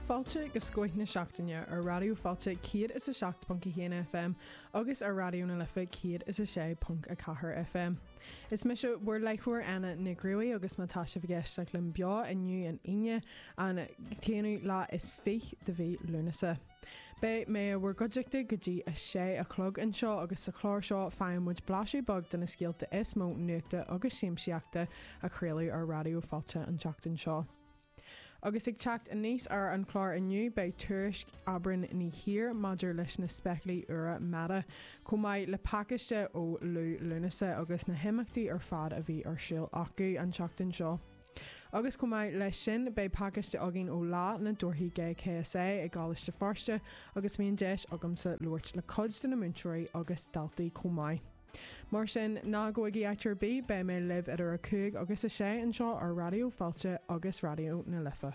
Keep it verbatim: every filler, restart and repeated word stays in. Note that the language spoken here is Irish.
Fáilte go Scoth na Seachtaine ar Raidió Fáilte céad is a seacht ponc a haon FM agus ar Raidió na Life céad is a sé ponc a ceathair FM. Is mise bhur láithreoir Anna Nic Ruairí agus má tá sibh ag éisteacht linn beo inniu an Aoine an t-aonú lá is fiche de mhí Lúnasa. Beidh mé i bhur gcuideachta go dtí a sé a chlog anseo agus sa chlár seo faigheann muid blaiseadh beag de na scéalta is mó nuachta agus siamsaíochta a craoladh ar Raidió Fáilte an tseachtain seo. Agus ag teacht aníos ar an chlár inniu beidh tuairisc Aibreán Ní Shír maidir leis na spéaclaí úra Meta, chomh maith le pacáiste ó Liú Lúnasa agus na himeachtaí ar fad a bhí ar siúl acu an tseachtain seo. Agus chomh maith leis sin beidh pacáiste againn ó Lá na dTorthaí Gay KSA i gColáiste Feirste agus bhí an deis agamsa labhairt le cuid de na múinteoirí agus daltaí chomh maith. Mar sin ná gabhaigí áit ar bith beidh mé libh idir a cúig agus a sé anseo ar Raidió Fáilte agus Raidió na Life.